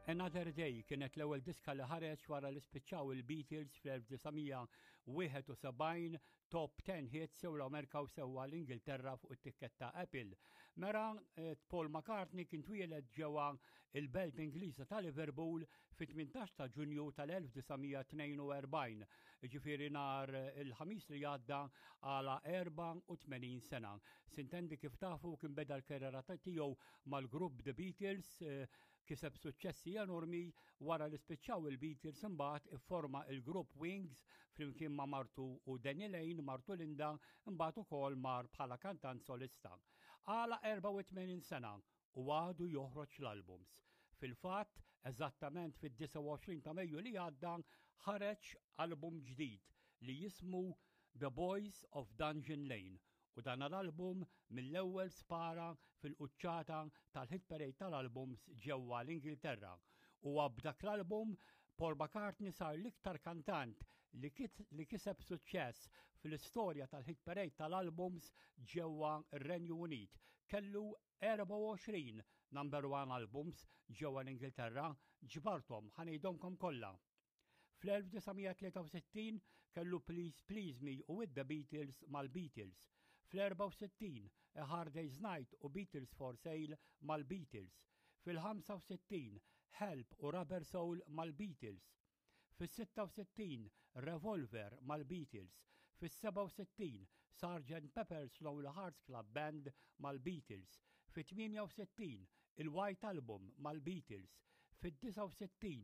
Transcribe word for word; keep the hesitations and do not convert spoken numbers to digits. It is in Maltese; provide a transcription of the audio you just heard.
Another Day kienet l-ewwel diska li ħareġ wara li spiċċaw il-Beatles fl-elf disa' mija u wieħed u sebgħin, top ten hits sew l-Amerika u sewwa l-Ingilterra fuq it-tikketta Apple. Mera eh, Paul McCartney kien twieled ġewwa il-belt Ingliża ta' Liverpool fit-tmintax ta' Ġunju tal-elf disa' mija tnejn u erbgħin. Ġifieri nhar il-Ħamis li għadda għalaq erbgħa u tmenin sena. Sintendi, kif tafu, kien beda l-karriera tiegħu mal-grupp The Beatles, eh, kiseb suċċessi enormi. Wara li spiċċaw il-Beatles, imbagħad ifforma il-grupp Wings flimkien ma' martu u Denny Lane, martu Linda, imbagħad ukoll mar bħala kantant solista. Għalaq erbgħa u tmenin sena u għadu joħroġ l-albums. Fil-fatt, eżattament fid-disgħa u għoxrin ta' Mejju li għadda ħareġ album ġdid li jismu The Boys of Dungeon Lane, u dan l-album mill-ewwel spara fil-quċċata tal-hit parade tal-albums ġewwa l-Ingilterra. U b'dak l-album Paul McCartney sar l-iktar kantant li, li kiseb suċċess fil-istorja tal-hit parade tal-albums ġewwa r-Renju Unit. Kellu erbgħa u għoxrin number one albums ġewwa l-Ingilterra, ġbartom, ħa ngħidhomlkom kollha. Fl-elf disa' mija tlieta u sittin kellu Please Please Me u With the Beatles mal-Beatles. Fl-erbgħa u sittin A Hard Day's Night u Beatles for Sale mal-Beatles. Fil-ħamsa u sittin Help u Rubber Soul mal-Beatles. Fis-sitta u sittin Revolver mal-Beatles. Fis-sebgħa u sittin Sergeant Pepper's Lonely Hearts Club Band mal-Beatles. Fit-tmienja u sittin il-White Album mal-Beatles. Fid-disgħa u sittin